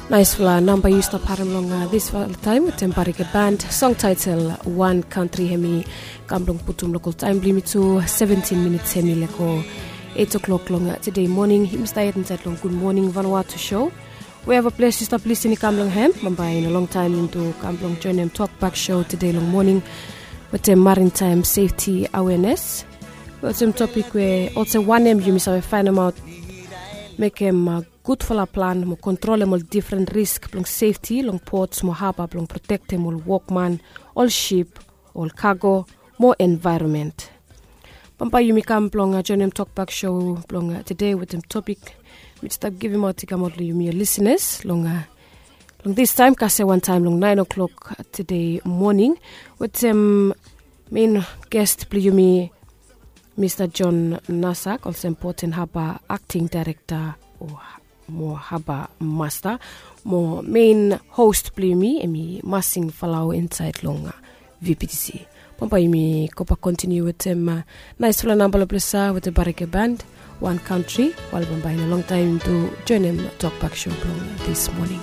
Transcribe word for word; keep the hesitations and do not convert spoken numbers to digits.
Naispela namba yu stap harim long disfala taim wetem Barika Band, song title One Country. Hemi kam blong putum lokal taim blong yumi tu seventeen minits hemi leko eight o'clock long today morning. Yumi stap yet insait long Good Morning Vanuatu show. Wherever ples yu stap lisin i kam long hem, bambae in a long taim yumi tu kam blong joinim Talk Back show today long morning wetem maritime safety awareness. Wetem topik we olsem wanem yumi save fainemaot mekem gudfala plan mo kontrolem ol difren risk blong sefti long pots mo haba blong protektem ol wokman, ol sip, ol kago mo envaeronmen. Bambae yumi kam blong joinim Talk Back show blong tede wetem topik mi stap givimaot i kamaot long yumi ol lisinas long long distaim kasem wantaim long nain o'clock tede moning wetem mein gest blong yumi, Mista John Nasak, olsem Port and Harbour Acting Director o mo Harbour Master, mo mein host blong yumi hemi Masing Falau insait long V P T C. Bambae yumi go bak kontiniu wetem naispela namba long ples ya wetem Barika Band, One Country, while bambae in a long taim yumi tu joinim Talk Back show blong this morning.